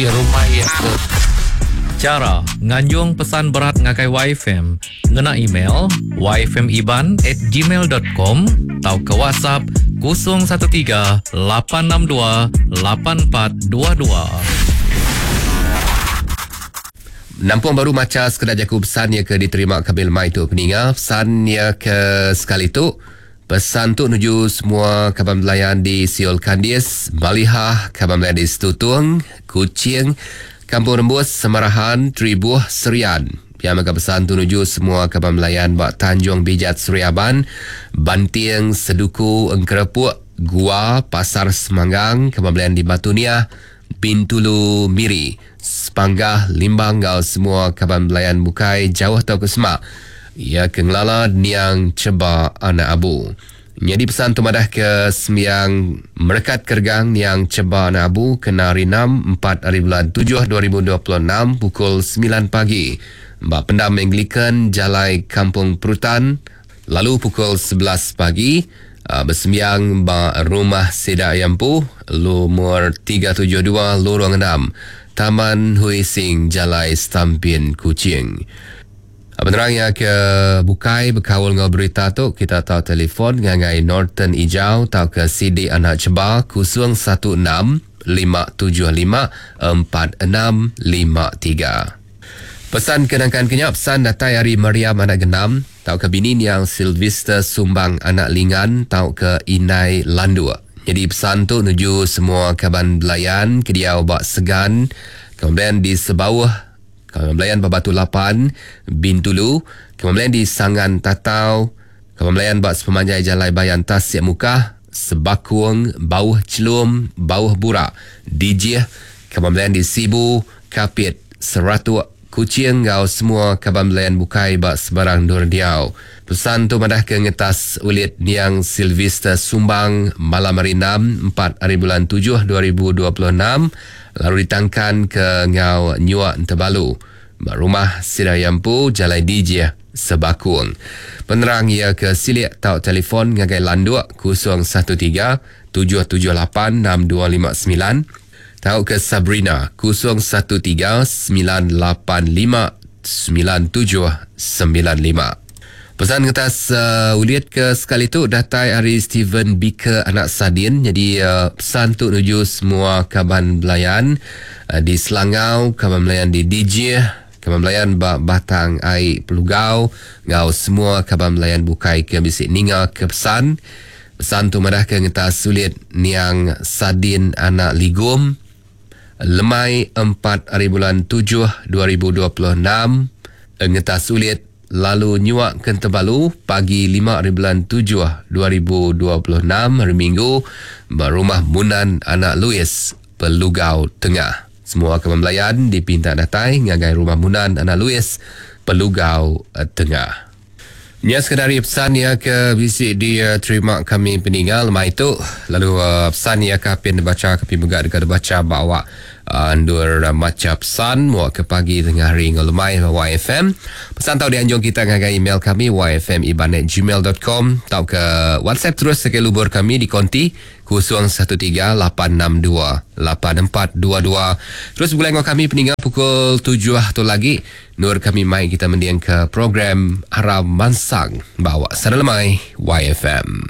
Rumah iya ke. Chara nganjung pesan berat ngagai YFM ngena email yfmiban at gmail dot com tauka WhatsApp 013 862 8422. Nampung baru macha sekeda jaku pesan iya ke diterima kami lemai tu peninga pesan iya ke sekali tu. Pesan tu nuju semua kaban belayan di Siol Kandis, Malihah, kaban belayan di Setutung, Kuching, Kampung Rembus, Semarahan, Tribuh, Serian. Pia mega pesan tu nuju semua kaban belayan ba Tanjung Bijat Seri Aban, Banting, Seduku, Engkerepuk, Gua, Pasar Semanggang, kaban belayan di Batu Niah, Bintulu, Miri, Sepanggah, Limbang enggau semua kaban belayan bukai jauh tauka semak iya ke ngelala niang Cheba anak Abu. Nyadi pesan tu madah ke sembiang merekat keregang niang Cheba anak Abu kena hari enam, empat hari bulan tujuh 2026 pukul semilan pagi ba Pendam Anglican Jalai Kampung Perutan lalu pukul 11 pagi besembiang ba rumah sida iya empu lumur 372 Lorong enam, Taman Hui Sing Jalai Stampin Kuching. Penerang iya ke bukai bekaul enggau berita tu kita tau telefon ngagai Norton Ijau tauka Sidi Anak Cheba 016 575 4653. Pesan ke nangkan ke nya pesan datai ari Mariam Anak Genam tauka bini niang Sylvester Sumbang Anak Lingan tauka Indai Landuk. Nyadi pesan tu nuju semua kaban belayan ke diau ba Segan, kemudian di Sebauh, kaban belayan ba Batu Lapan, Bintulu, kaban belayan di Sangan Tatau, kaban belayan ba sepemanjai Jalai Bayan Tasik Mukah, Sebakung, Bauh Chelum, Bauh Burak, Dijih, kaban belayan di Sibu, Kapit, Seratuk, Kuching enggau semua kaban belayan bukai ba sebarang endur diau. Pesan tu madahka ngetas ulit niang Sylvester Sumbang malam hari enam, empat hari bulan tujuh 2026 lalu ditangkan ke enggau nyua Entebalu ba rumah sida iya empu Jalai Dijih, Sebakung. Penerang iya ke silik tau telefon ngagai Landuk 013 778 6259. Tauka Sabrina 013 985 9795. Pesan ngetas ulit ke sekali tu datai ari Steven Biker anak Sadin. Jadi pesan tu nuju semua kaban belayan di Selangau, kaban belayan di Dijih, kaban belayan ba Batang Ai Pelugau enggau semua kaban belayan bukai ke bisi ninga ke pesan. Pesan tu madahka ngetas sulit niang Sadin anak Ligum lemai empat hari bulan tujuh 2026 ngetas sulit lalu nyuak ke Entebalu pagi lima hari bulan tujuh 2026 hari Minggu ba Rumah Munan anak Louis Pelugau Tengah. Semua kaban belayan dipinta datai ngagai Rumah Munan anak Louis Pelugau Tengah. Nya sekeda ari pesan iya ke bisi diterima kami peninga lemai tu lalu pesan iya ke apin dibacha ke mega deka dibacha ba awak endur macha pesan mua ke pagi tengah hari enggau lemai ba YFM. Pesan tau dianjung kita ngagai email kami yfmiban@gmail.com tauka WhatsApp terus ngagai lubur kami di konti 013 862 8422. Terus begulai enggau kami peninga pukul tujuh tu lagi. Endur kami mai kita mendingka program Aram Mansang ba awak Sada Lemai YFM.